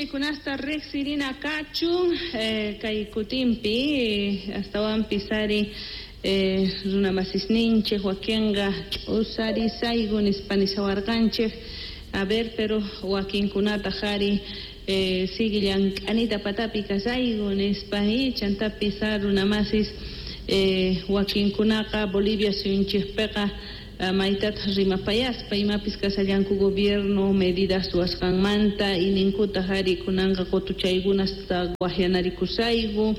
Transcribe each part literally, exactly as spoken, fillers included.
Willaykunasta riqsirina kachun eh, kay kutinpi eh, astawanpis ari eh, runa masisninchik wakinqa ch'usarisayku nispa nishawarqanchik. A ver, pero wakinkunataq ari eh, sigue llank'anita patapi kasayku nispa y chantapis runa masis eh, wakinkunaqa Bolivia suyunchikpiqa maytataq rimapayaspa imapis kashallanku gobierno medidas ruwasqanmanta y ninkutaq ari kunanqa qutuchaykunasta waqyanarikusayku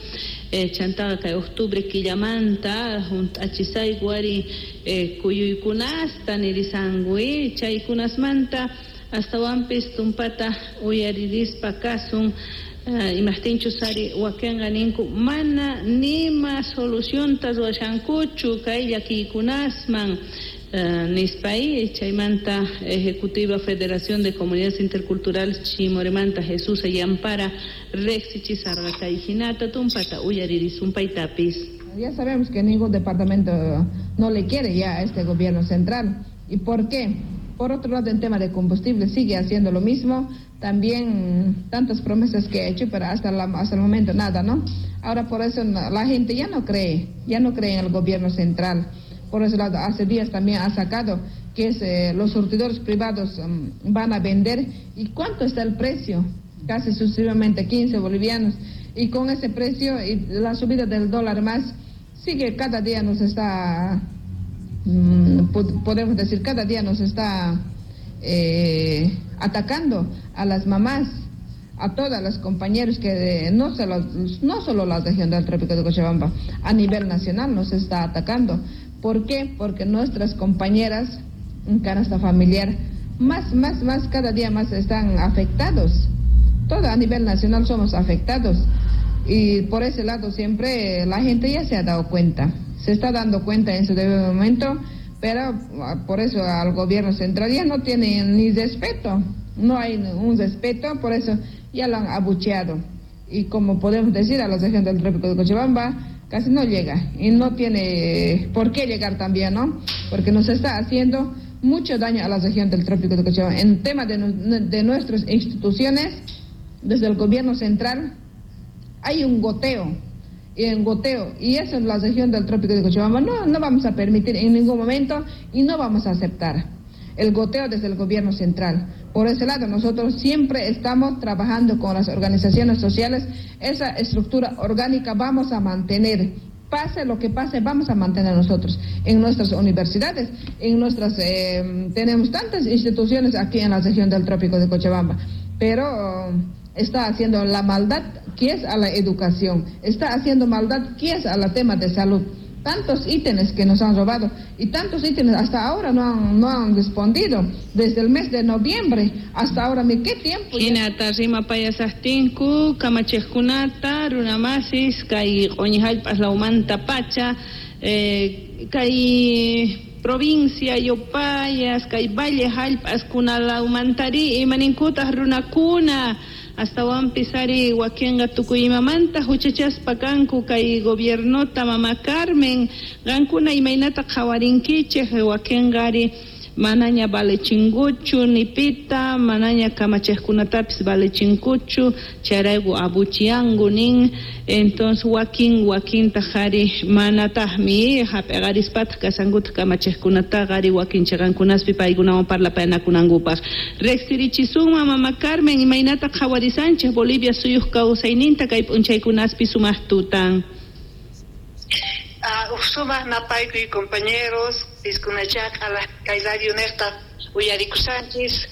eh, chantaqa kay octubre killamanta hunt'achisayku ari eh, kuyuykunasta nirisanku eh, chaykunasmanta astawanpis tumpata uyaririspa kasun. Uh, imajtinchus ari wakinqa ninku mana nima solucionta ruwashankuchu kay llakiykunasman uh, nispay chaymanta Ejecutiva Federación de Comunidades Interculturales Chimoremanta Jesús Ayampara riqsichisarqa kay hinata tumpata uyaririsun paytapis. Ya sabemos que ningún departamento no le quiere ya a este gobierno central. ¿Y por qué? Por otro lado, en tema de combustible sigue haciendo lo mismo. También tantas promesas que ha hecho, pero hasta, la, hasta el momento nada, ¿no? Ahora por eso la gente ya no cree, ya no cree en el gobierno central. Por ese lado, hace días también ha sacado que es, eh, los surtidores privados um, van a vender. ¿Y cuánto está el precio? Casi sucesivamente quince bolivianos. Y con ese precio y la subida del dólar más, sigue cada día nos está, mm, podemos decir, cada día nos está eh, atacando a las mamás, a todas las compañeros que no solo, no solo la región del Trópico de Cochabamba, a nivel nacional nos está atacando. ¿Por qué? Porque nuestras compañeras en canasta familiar más, más, más, cada día más están afectados. Todo a nivel nacional somos afectados. Y por ese lado siempre la gente ya se ha dado cuenta, se está dando cuenta en su debido momento, pero por eso al gobierno central ya no tiene ni respeto, no hay un respeto, por eso ya lo han abucheado. Y como podemos decir, a la región del Trópico de Cochabamba casi no llega y no tiene por qué llegar también, ¿no? Porque nos está haciendo mucho daño a la región del Trópico de Cochabamba. En tema de, de nuestras instituciones, desde el gobierno central hay un goteo, y un goteo, y eso en la región del Trópico de Cochabamba no, no vamos a permitir en ningún momento y no vamos a aceptar el goteo desde el gobierno central. Por ese lado, nosotros siempre estamos trabajando con las organizaciones sociales, esa estructura orgánica vamos a mantener, pase lo que pase, vamos a mantener nosotros en nuestras universidades, en nuestras, eh, tenemos tantas instituciones aquí en la región del Trópico de Cochabamba, pero está haciendo la maldad que es a la educación, está haciendo maldad que es al tema de salud. Tantos ítems que nos han robado y tantos ítems hasta ahora no han, no han respondido. Desde el mes de noviembre hasta ahora, ¿qué tiempo? Hinata rimapayasaqtinku kamachiqkunata runamasis kay q'uñi hallp'as lawmanta pacha eh, kay provincia Yopayas kay valle hallp'askuna lawmantari imaninkutaq runakuna astawanpis ari wakinqa tukuy imamanta huchachaspa kanku kay gobiernota mama Carmen qankuna imaynata qhawarinkichik wakinqa ari manaña valechinkuchu nipita manaña kamachiqkunatapis valechinkuchu chayrayku abuchianku nin entonces wakin wakintaq ari manataqmi hap'iqarispataq kashankutaq kamachiqkunataqa ari wakin chiqankunaspi paykunawan parlapayanakunankupaq riqsirichisunman mama Carmen imaynata qhawarisanchik Bolivia suyuq kawsayninta kay p'unchaykunaspi sumaq tutan. Uh, sumaq napaykuy compañeros piskunachaq kay radio niqta uyarikushanchis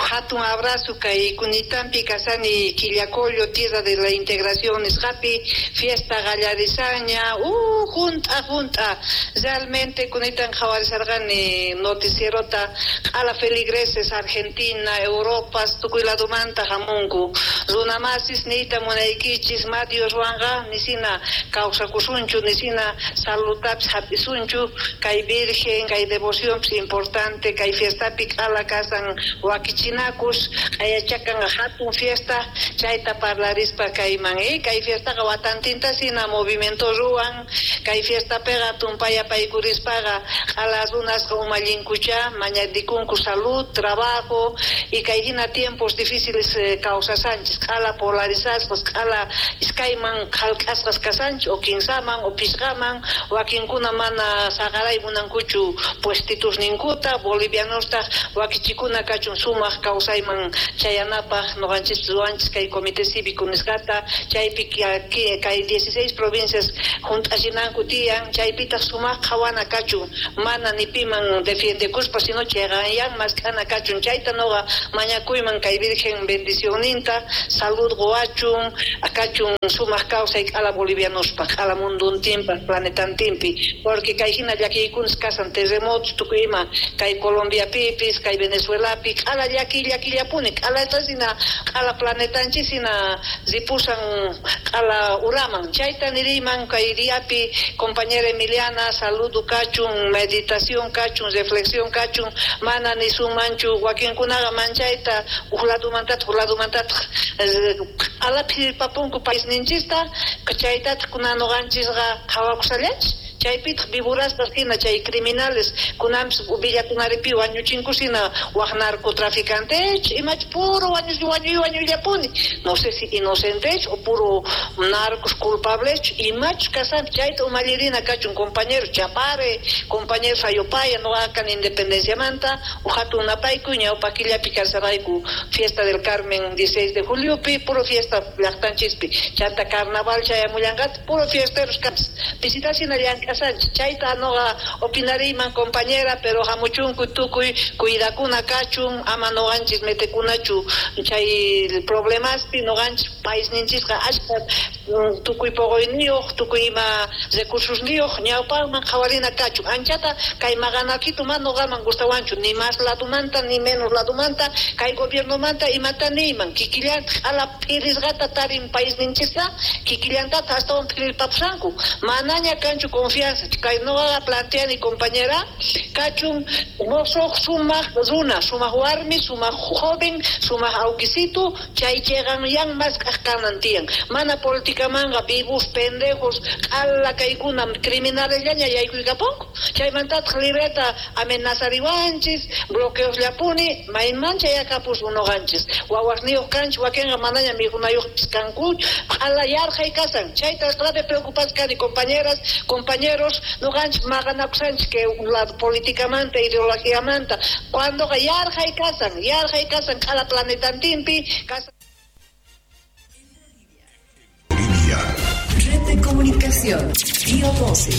hatun abrazo kay kunitampi kasani Quillacollo tierra de la integración nisqapi fiesta qallarisanña uh junt'a junt'a realmente kunitan qhawarisarqani noticierota q'ala feligreses Argentina Europa tukuy ladumanta hamunku runamasis niyta munaykichis ma Dioswanqa nisina kawsakusunchu nisina salutapis hap'isunchu kay virgen kay devoción importante kay fiestapi provinciapi q'ala kasan wakichinakus q'ayachakan hatun fiesta chayta parlarispa kayman eh kay fiestaqa watantinta sina movimiento ruwan kay fiestapiqa tumpaya paykurispaqa q'ala runasqa umallinkucha mañadikunku salud, trabajo y kay hina tiempos difíciles eh, kawsasanchis q'ala polarizasqas q'ala iskayman qhalk'asqas kasanchis o kinsaman o pisqaman wakinkuna mana saqaray munankuchu puestitusninkuta bolivianostaq wakichikuna kachun sumaq kawsayman chayanapaq noqanchis ruwanchis kay comité cívico nisqata chaypi kay dieciséis provincias junt'achinanku tiyan chaypitaq sumaq qhawana kachun mana ni piman defiendekuspa sino chayqanyan mask'ana kachun chayta noqa mañakuyman kay Virgen bendicionninta salud quwachun kachun sumaq kawsay q'ala bolivianospaq q'ala munduntinpaq planetantinpi porque kay hina llakiykunas kasan terremotos tukuy ima kay Colombiapipis kay Venezuelapi q'ala llakiy llakillapuni q'alatasina q'ala planetanchisina ripusan q'ala uraman chayta niriyman kay diapi compañera Emiliana saludo kachun meditación kachun reflexión kachun mana nisunmanchu wakinkunaqa manchayta uj ladumantataq uj ladumantataq q'ala phirpapunku paisninchista chaytataq kunan noqanchisqa qhawakusallanchis chaypitaq viburaspas hina chay criminales kunanpis villakunaripi wañuchinkusina waj narcotraficantech imach puro wañuy wañuy wañuyllapuni no sé si inocentech o puro narcos culpablech imach kasanpi chayta umallirina kachun compañeros Chapare compañeros Ayopaya noqa kani Independenciamanta uj hatun napaykuy ñawpa killapi kasarayku fiesta del Carmen dieciséis de juliopi puro fiesta llaqtanchispi chanta carnaval chayamullanqataq puro fiesteros kanchis pisitasina llank'asanchis chayta noqa opinariyman compañera pero hamuchunku tukuy cuidakuna kachun ama noqanchis metekunachu chay problemaspi noqanchis paisninchisqa ashka tukuy poqoyniyuq tukuy ima recursosniyuq ñawpaqman qhawarina kachun anchata kay maqanakitu mana noqaman gustawanchu ni más ladumanta ni menos ladumanta kay gobiernomanta imata niyman kikillantaq q'ala phirisqata tarin paisninchista kikillantata astawan phirirpapusanku manaña kanchu confianza kay noqaqa planteani compañera kachun mosoq sumaq runa sumaq warmi sumaq joven sumaq awkisitu chay chayqanyan mask'aq kanan tiyan mana politicamanqa vivos pendejos q'ala kaykuna criminalesllaña yaykuykapunku chaymantataq libreta amenazariwanchis bloqueosllapuni mayman chayakapusun noqanchis wawasniyuq kanchis wakinqa manaña mikhunayuqpis kanku q'ala yarqhay kasan chayta grave preocupadas kani compañeras compañeros noqanchis maqanakusanchis que la políticamanta ideologiamanta cuandoqa yarqhay kasan yarqhay kasan q'ala planetantinpi kasan. Bolivia. Red de comunicación Bio doce.